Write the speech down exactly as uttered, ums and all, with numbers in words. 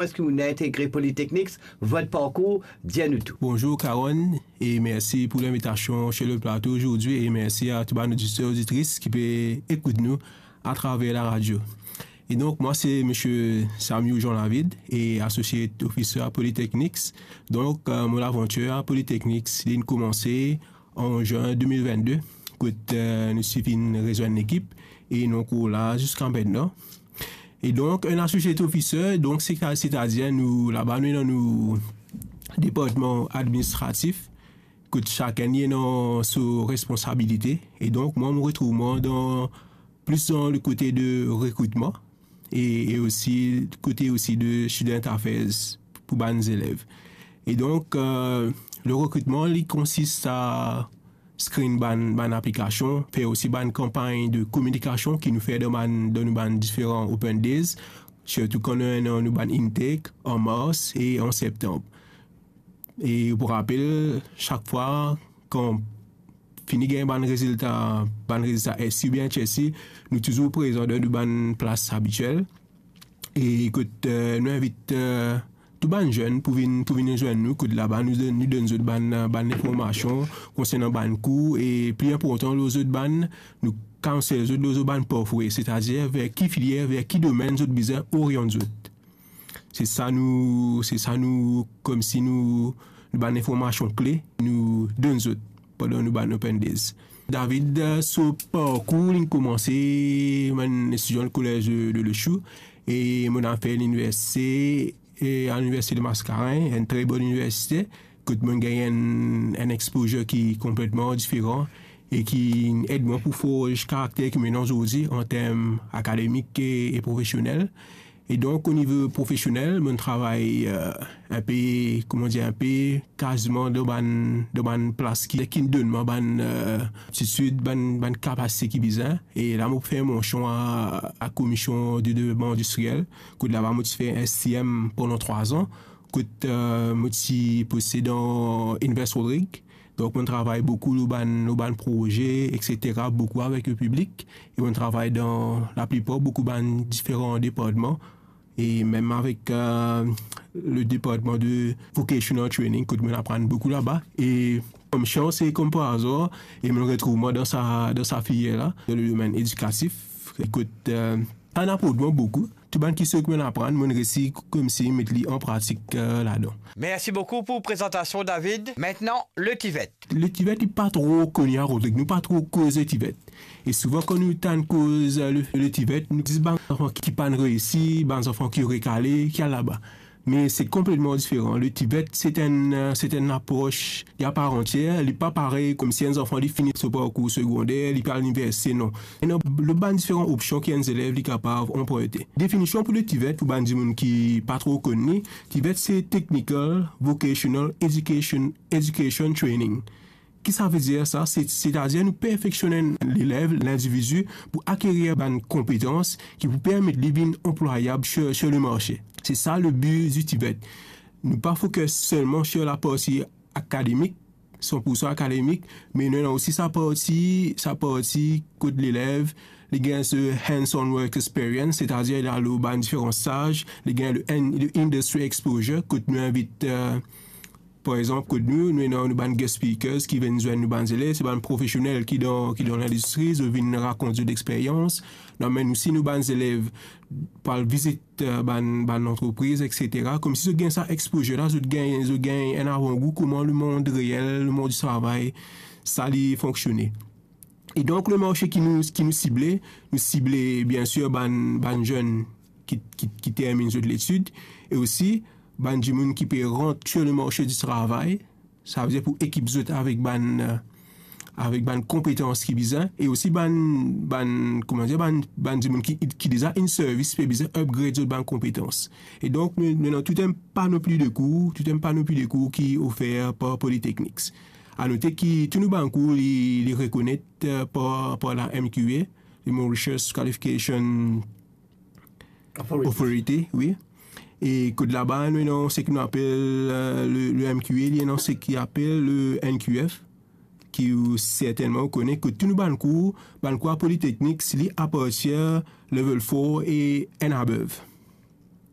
Kouma entegre Polytechnics, vot parkour, dir nou tou. Bonzour Karonn, e mersi pou linvitasion sir le plato ozordi, e mersi a tou bann oditer, oditris ki pe ekout nou atraver laradio. E donk, mwa se Misie Samiou Jean David, e Associate Officer a Polytechnics. Donk, euh, mo lavantir a Polytechnics, li'nn koumanse an zin de mil vennde, kot, euh, nou ti finn rezwenn lekip, e nou ankor la ziska aster. E donk, enn associate officer, donk, se, setadir nou, laba nou ena nou departman administratif, kot sakenn li ena so responsabilite. E donk, mwa, mo retrouv mwa dan, plis dan le kote de rekritman e, e osi kote osi de student affairs pou bann zelev. E donk, euh, le rekritman, li konsist a screen bann, bann aplikasion, fer osi bann kanpagn de kominikasion ki nou fer dan bann, dan nou bann diferan open days, sirtou kan nou ena nou bann intake an mars e an septanm. E pou rapel, sak fwa kan fini gagn bann rezilta, bann rezilta S C oubien H S C, nou touzour prezan dan nou bann plas abitiel. E kot, euh, nou invit, euh, tou bann zenn pou vinn, pou vinn rezwenn nou, kot laba nou donn, nou donn zot bann, euh, bann linformasion konsernan bann kour, e pli inportan, lor zot bann, nou counsel zot lor zot bann pathway, setadir ver ki filier, ver ki domenn zot bizin oriant zot. Se sa nou, se sa nou, koumsi nou, nou bann linformasion kle nou donn zot pandan nou bann open days. David, euh, so parkour, li'nn koumanse, mo'nn etidian kolez de, de Lechou, e mo'nn al fer liniversite, e a Liniversite de Mascarenhas, enn tre bon liniversite, kot mo'nn gagn enn, enn exposure ki konpletman diferan e ki ed mwa pou forz karakter ki mo ena zordi an term akademik e, e profesionel. E donk, o nivo profesionel, mo'nn travay, euh, inpe, kouma dir, inpe kaziman dan bann, dan bann plas ki, ki donn mwa bann, euh, aptitid, bann, bann kapasite ki bizin. E la, mo fer mension a, a Komision de Devlopman Indistriel, kot laba mo ti fer S T M pandan trwa an, kot, euh, mo ti poste dan Invest Rodrigues. Donk, mo'nn travay boukou lor bann, lor bann proze, et cetera, boukou avek le piblik. E mo'nn travay dan laplipar boukou bann diferan departman. E mem avek, euh, le departman de vocational training, kot mo'nn aprann boukou laba. E kom sans e kom par azar, e mo'nn retrouv mwa dan sa, dan sa filier la, dan le domenn edikatif. Kot, euh, sa inn aport mwa boukou. Tou bann kistion ki mo'nn aprann, mo'nn resi koumsi met li an pratik, euh, ladan. Merci beaucoup pour présentation, David. Maintenant, le TVET. Le TVET, li pa tro koni a Rodrig, nou pa tro koz le TVET. E souvan, kan nou tann koz, euh, le, le TVET, nou dir bann zanfan ki, ki pa'nn reisi, bann zanfan ki rekale, ki al laba. Me se konpletman diferan. Le TVET, se enn, euh, se enn apros a par antier. Li pa parey koumsi enn zanfan, li fini so parkour segonder, li pe al liniversite, non. E non, le bann diferan opsion ki enn zelev li kapav anprinte. Definision pou le TVET, pou bann dimoun ki pa tro konn li, TVET se Technical Vocational Education, Education Training. Ki sa ve dir sa? Se, setadir nou perfeksionn lelev, lindividi, pou akerir bann konpetans ki pou permet li vinn anplwayab sir, sir le marse. Se sa le bi di TVET. Nou pa fokis selman sir laparti akademik, san pour san akademik, me nou ena osi sa parti, sa parti kot lelev, li gagn so hands-on work experience, setadir li al lor bann diferan staz, li gagn le in-, le industry exposure, kot nou invit, euh, par exanp, kot nou, nou ena nou bann guest speakers ki vinn zwenn nou bann zelev, se bann profesionel ki dan, ki dan lindistri, zot vinn rakont zot lexperyans. Nou amenn osi nou bann zelev pou al vizit, euh, bann, bann lantrepriz, et cetera. Koumsi zot gagn sa exposure la, zot gagn, zot gagn enn avangou kouma lemond reel, lemond di travay, sa li fonksione. E donk, le marse ki nou, ki nou sible, nou sible, bien sir, bann, bann zenn ki, ki, ki terminn zot letid, e osi bann dimoun ki pe rant sir le marse di travay, sa ve dir pou ekip zot avek bann, euh, avek bann konpetans ki bizin, e osi bann, bann, kouma dir, bann, bann dimoun ki, ki deza inn servi, pe bizin upgrade zot bann konpetans. E donk, nou, nou ena tou enn panopli de kour, tou enn panopli de kour ki ofer par Polytechnics. A note ki tou nou bann kour, li, li rekonet, euh, par, par la M Q A, le Mauritius Qualification Authority. Authority, wi. E kot laba, nou ena seki nou apel, euh, le, le M Q A, li ena seki apel le N Q F, ki ou sertennman ou kone, kot tou nou bann kour, bann kour a Polytechnics, li apartir level four e and above.